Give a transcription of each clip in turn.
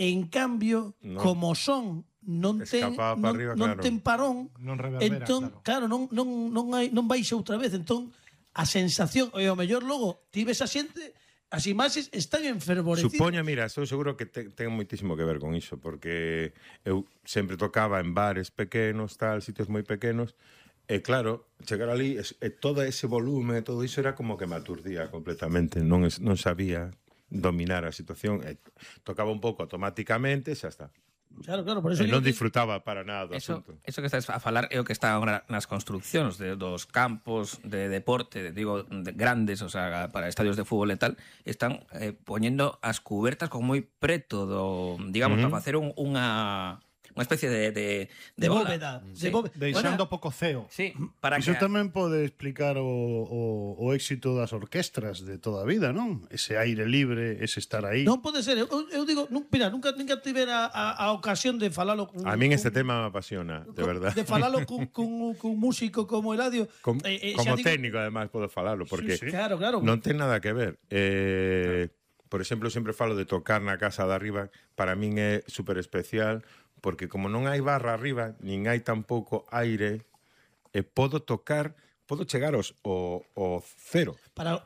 En cambio, como son non ten Escapaba para arriba, non claro. ten parón, Non reverbera, entón, claro, non baixa outra vez, entón a sensación, e o mellor logo ti ves a xente, as imaxes están enfervorecidas. Supoño, mira, estou seguro que ten moitísimo que ver con iso, porque eu sempre tocaba en bares pequenos, tal, sitios moi pequenos, e claro, chegar ali, todo ese volume, todo iso era como que me aturdía completamente, non sabía dominar a situación, tocaba un pouco automáticamente, xa está. Claro, por eso non disfrutaba para nada do Eso asunto. que estás a falar é o que está agora nas construccións dos campos de deporte, grandes, o sea, para estadios de fútbol e tal, están poñendo as cubertas como moi preto do, digamos, para facer unha especie de bóveda. Deixando pouco ceo. Sí, para Iso que... tamén pode explicar o éxito das orquestras de toda a vida, non? Ese aire libre, ese estar aí. Non pode ser, eu digo, mira, nunca tivera a ocasión de falalo con... A min este tema me apasiona, de verdad. De falalo cun músico como Eladio. Como técnico, además, podo falalo, porque claro. non ten nada que ver. Por exemplo, sempre falo de tocar na casa de arriba, para min é super especial, porque como non hai barra arriba, nin hai tampouco aire, podo chegar ao cero. Para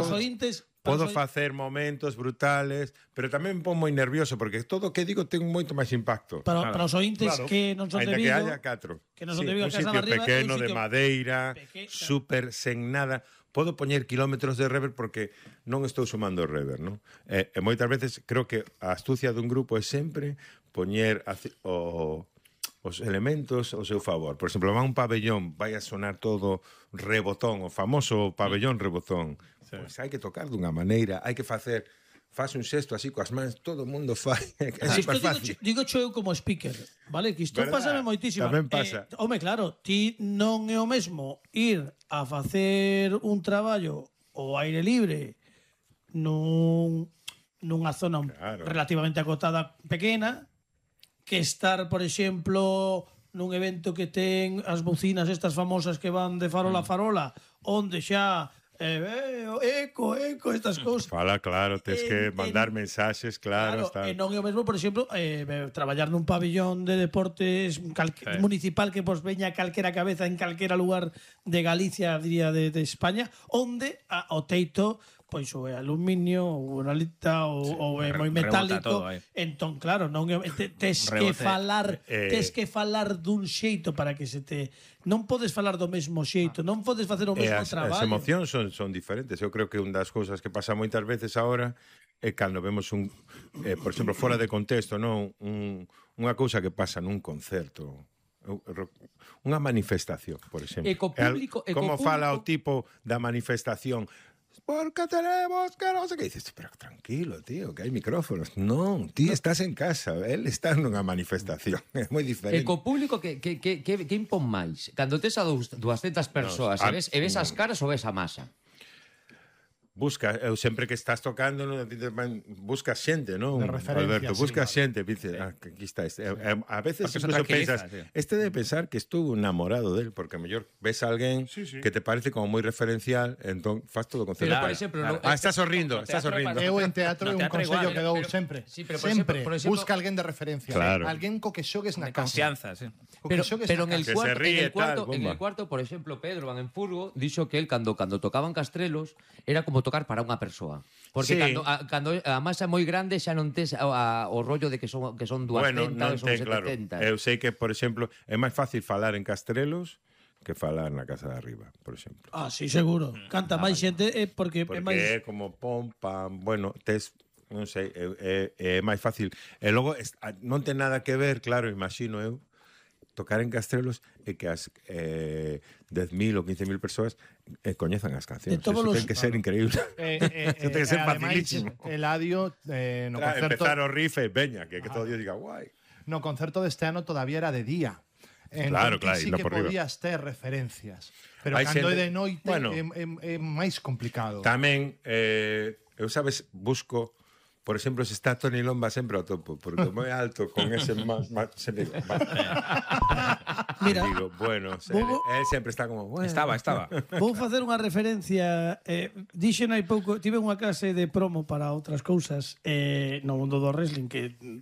os ointes... Podo facer momentos brutales, pero tamén me pon moi nervioso, porque todo o que digo ten moito máis impacto. Para os ointes que non son de Vigo... que haya catro. Que non son de Vigo, un a casa sitio de arriba... pequeno, de madeira, super sen nada... Podo poñer kilómetros de reverb porque non estou sumando reverb, non? E moitas veces creo que a astucia dun grupo é sempre poñer os elementos ao seu favor. Por exemplo, vai un pabellón, vai a sonar todo rebotón, o famoso pabellón rebotón. Sí. Pois hai que tocar dunha maneira, hai que facer... Faz un xesto así coas mans, todo o mundo fai. É super fácil. Digo eu como speaker, vale? Que isto pásame moitísimo. Tamén pasa. Home, claro, ti non é o mesmo ir a facer un traballo ao aire libre nunha zona relativamente acotada pequena que estar, por exemplo, nun evento que ten as bocinas estas famosas que van de farola a farola, onde xa eco, estas cousas. Fala, claro, tens que mandar mensaxes, claro. E non é o mesmo, por exemplo, traballar nun pabellón de deportes municipal que vos veña calquera cabeza en calquera lugar de Galicia, diría, de España, onde o teito pois o é aluminio, ou uralita, ou é moi metálico. Entón, claro, non tes que falar dun xeito para que se te... Non podes falar do mesmo xeito, non podes facer o mesmo traballo. As emocións son diferentes. Eu creo que unha das cousas que pasa moitas veces agora é cando vemos por exemplo, fora de contexto, non unha cousa que pasa nun concerto, unha manifestación, por exemplo. Como fala o tipo da manifestación? Porque tenemos que non sei que dices, pero tranquilo, tío, que hai micrófonos. Non, ti estás en casa, él está nunha manifestación, é moi diferente. E co público que impón máis? Cando tes a 200 persoas e ves as caras ou ves a masa? Busca, eu sempre que estás tocando, buscas xente, non? De referencia, Alberto, buscas xente, dices, aquí está este. A veces incluso pensas, este debe pensar que estou enamorado del, porque a mellor ves a alguén que te parece como moi referencial, entón faz todo o concerto. Pero, por exemplo, estás sorrindo, estás sorrindo. Eu en teatro é un consello que dou sempre. Sempre, busca alguén de referencia. Alguén co que xogues na casa. Confianza, sí. Pero en el cuarto, por exemplo, Pedro Van en Furgo dixo que él cando tocaban Castrelos era como tocar para unha persoa. Porque cando a masa é moi grande xa non tes o rollo de que son 200 ou son 70. Claro. Eu sei que, por exemplo, é máis fácil falar en Castrelos que falar na casa de arriba, por exemplo. Ah, sí, seguro. Canta máis xente porque é máis... é como pom, pam, bueno, non sei, é máis fácil. E logo, non ten nada que ver, claro, imagino eu, tocar en Castrelos e que as 10.000 ou 15.000 persoas coñezan as cancións. Eso ten que ser increíble. Eso ten que ser facilísimo. Eladio, no concerto... Empezar o riff e veña, que todo Dios diga guai. No concerto deste ano todavía era de día. Claro, sí que podías ter referencias. Pero cando é de noite é máis complicado. Tamén, eu sabes, busco... Por exemplo, se está Toni Lomba sempre ao topo, porque moi alto con ese se digo, mira, digo, bueno, él sempre está como, bueno. Estaba. Vou facer unha referencia, dixen hai pouco, tive unha clase de promo para outras cousas no mundo do wrestling que